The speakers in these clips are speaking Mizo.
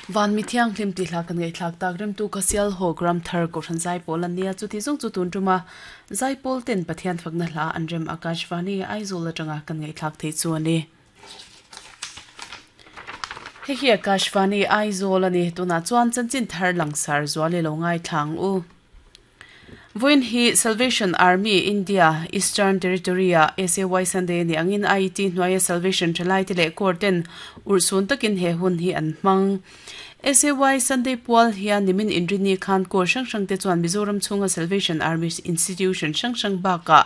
Van mi thianghlim tih hla kan ngaihthlak tak remtu ka Sialhawk Ramthar Kohhran Zaipawl an nia, chuti zawng chu tun tuma Zaipawl ten Pathian fakna hla an rem Akashvani Aizawl atanga kan ngaihthlak theih chu a ni. Hei hi Akashvani Aizawl a ni, tunah chuan chanchin thar langsar zual i lo ngaithla ang u. Vawiin hi Salvation Army India Eastern Territory-a SAY Sunday ni angin IET hnuaia Salvation thalaite leh Corps ten urhsun takin he hun hi an hmang. SAY Sunday pual hian nimin inrini khan Corps hrang hrangte chuan Mizoram chhunga Salvation Army Institution hrang hrang bakah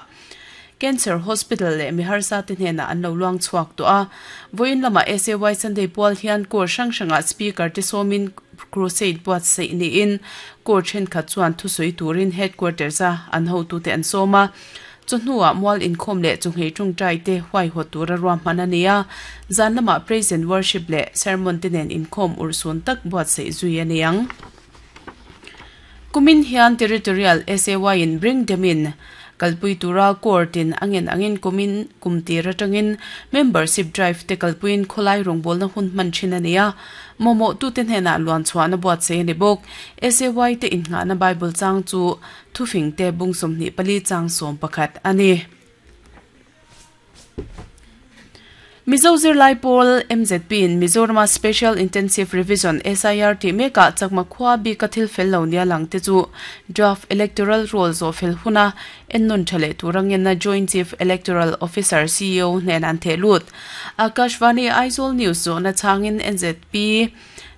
Cancer Hospital leh mi harsa te hnenah an lo luang chhuak tawh a. Vawiin lamah SAY Sunday pual hian Corps hrang hrangah Speaker te sawmin Crusade buatsaih niin Corps thenkhat chuan thusawi turin Headquarters a an hotute an sawm a. Chawhnuah mual inkhawm leh chawhngei tawngtai te huaihawt tura ruahman a ni a. Zan lamah Praise and Worship leh Sermon te nen inkhawm urhsun tak buatsaih zui a ni ang. Kumin hian Territorial SAY in Bring Them In kalpui tura Court in a ngen angin kumin kum tir atangin Membership Drive te kalpuiin khawlai rawngbawlna hun hman thin a ni a, mamawhtute hnenah luan chhuahna buatsaih a ni bawk. SAY te innghahna Bible chang chu thufingte bung 24 chang 11 a ni. Mizo zirlai pawl MZP in Mizorama Special Intensive Revision, SIR, tih mekah chakma khua bika thil fel lo nia lang te chu Draft Electoral Roll zawh fel huna ennawn tha leh tur angenna Joint Chief Electoral Officer, CEO, hnenah an theh lut. Akashvani Aizawl News zawhna chhangin NZP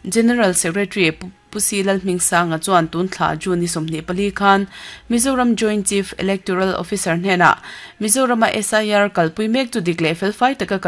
General Secretary Pu Si Lalhmingsanga chuan tun thla June ni 24 khan Mizoram Joint Chief Electoral Officer hnenah Mizorama SIR kalpui mek chu dik leh felfai taka kal